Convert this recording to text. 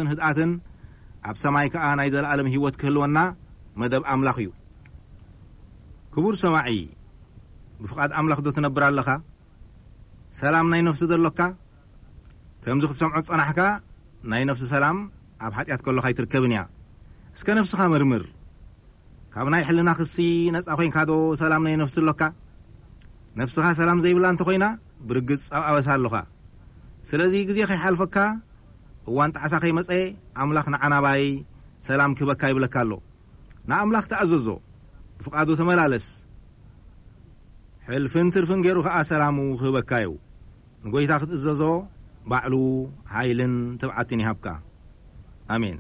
ህድኣትን ኣብ ሰማይ ከኣ ናይ ዘለኣለም ህይወት ክህልወና መደብ ኣምላኽ እዩ። ክቡር ሰማዒ፣ ብፍቓድ ኣምላኽ ዶ ትነብር ኣለኻ? ሰላም ናይ ነፍሲ ዶ ኣሎካ? ከምዚ ክትሰምዖ ዝጸናሕካ፣ ናይ ነፍሲ ሰላም ኣብ ሓጢኣት ከሎኻ ኣይትርከብን እያ። እስከ ነፍስኻ መርምር። ካብ ናይ ሕልና ክሲ ነጻ ኮይንካ ዶ ሰላም ናይ ነፍሲ ኣሎካ? ነፍስኻ ሰላም ዘይብላ እንተኾይና፣ ብርግጽ ኣብ ኣበሳ ኣሎኻ። ስለዚ ግዜ ከይሓልፈካ፣ እዋን ጣዕሳ ከይመጸ፣ ኣምላኽ ንዓናባይ ሰላም ክህበካ ይብለካ ኣሎ። ንኣምላኽ ተኣዘዞ፣ ብፍቓዱ ተመላለስ። ሕልፍን ትርፍን ገይሩ ኸኣ ሰላሙ ክህበካ እዩ። ንጎይታ ክትእዘዞ ባዕሉ ሓይልን ትብዓትን ይሃብካ። ኣሜን።